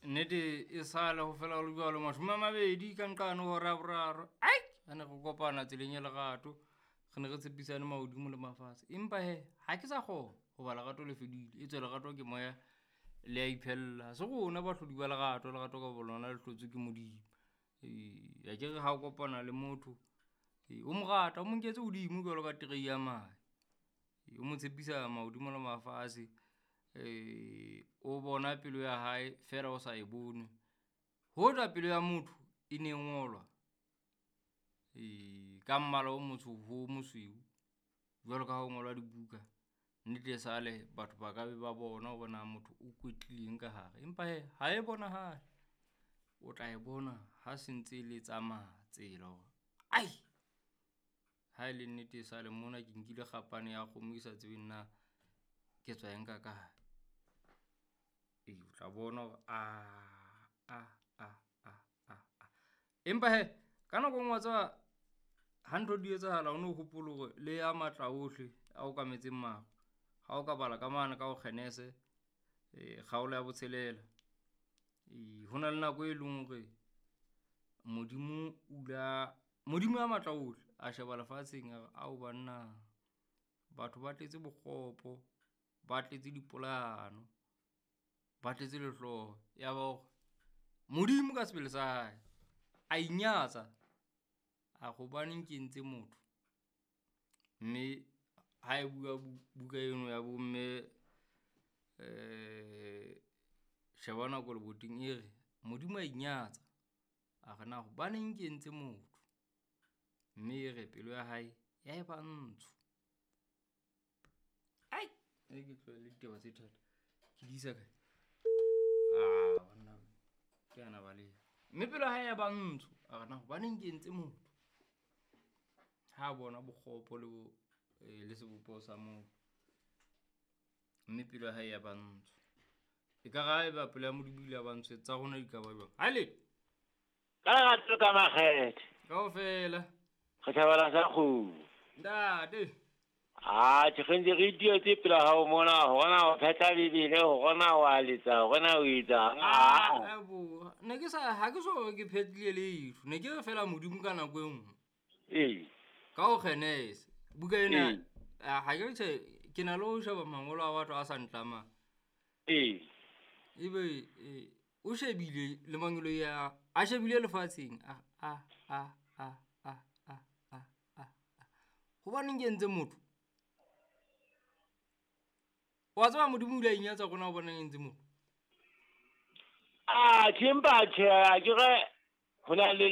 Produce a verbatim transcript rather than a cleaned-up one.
Nnete e sale ho fela ho le jwalo mashome a mabedi ka nqane ho hora ya boraro. Ai, ha ne re kopana tseleng ya lerato, re ne re tshepisane mahodimo le mafatshe. Empa hee ha ke sa kgona hoba lerato le fedile. Etswe lerato ke moya le a iphella. Ha se rona bahlodi ba lerato, lerato ka bo lona le hlotswe ke Modimo. Ee, akere ha o kopana le motho o mo rata, o mo nketse hodimo jwalo ka terei ya mahe. O mo tshepisa mahodimo le mafatshe. O bona pelo ya hae feela o sa e bone. Hoja pelo ya motho e ne ngolwa ka mmala o motsho ho o mosweu, jwalo ka ha ho ngolwa dibuka. Nnete e sale batho ba ka be ba bona hore na motho o kwetlileng ka hare. Empa hee ha e bonahale, o tla e bona ha se ntse le tsamaya tsela hore ai ha e le nnete e sale mona ke nkile kgapane ya kgomo, ke sa tsebeng na ke tswa e nka kae. Ee, o tla bona hore ah ah ah ah ah ah. Empa hee ka nako e nngwe wa tseba ha ntho di etsahala, o no hopole hore le ya matla ohle a okametseng maru. Ha o ka bala ka mane ka ho Kgenese kgaolo ya botshelela. E, ho na le nako e leng hore Modimo o ila Modimo ya matla ohle a sheba lefatsheng a re ao banna, batho ba tletse bokgopo, ba tletse dipolayano, ba tletse lehloho. Ya ba hore Modimo ka sebele sa hae a inyatsa a re hobaneng ke entse motho. Mme ha e bua buka eno ya bo mme sheba nako leboteng e re, Modimo a inyatsa a re na hobaneng ke entse motho. Mme e re pelo ya hae ya eba ntsho. Ai e ke tlohele ditaba tse thata ke di isa kae? Ah banna ke ana baleha. Mme pelo ya hae ya ba ntsho a re na hobaneng ke entse motho. Ha bona bokgopo le bo le sebopeho sa motho. Mme pelo ya hae ya ba ntsho. Ekare ha eba pelo ya Modimo ile ya ba ntsho tsa rona di ka ba jwang? Ha le Ka lerato ka makgethe. Kaofela. Re thabela sa kgomo. Ntate. Ah, tjhe, re ntse re itietse pela hao mona, hore na o phetla Bibele, hore na wa letsa, hore na o etsang. Ah, bo. Ne ke sa ha ke so ke phetlile letho. Ne ke re fela Modimo ka nako e nngwe. Ee. Ka ho Kgenese. Buka ena Ee. ha ke tjhe ke na le ho sheba mangolo a batho a sa ntlamang. Ee. Ebe e, o shebile le mangolo ya a shebile lefatsheng a a a a a a a a. Hobaneng ke entse motho? Wa tseba Modimo o ile a inyatsa rona hobaneng entse motho? Ah, tjhe, empa tjhe, ha ke re ho na le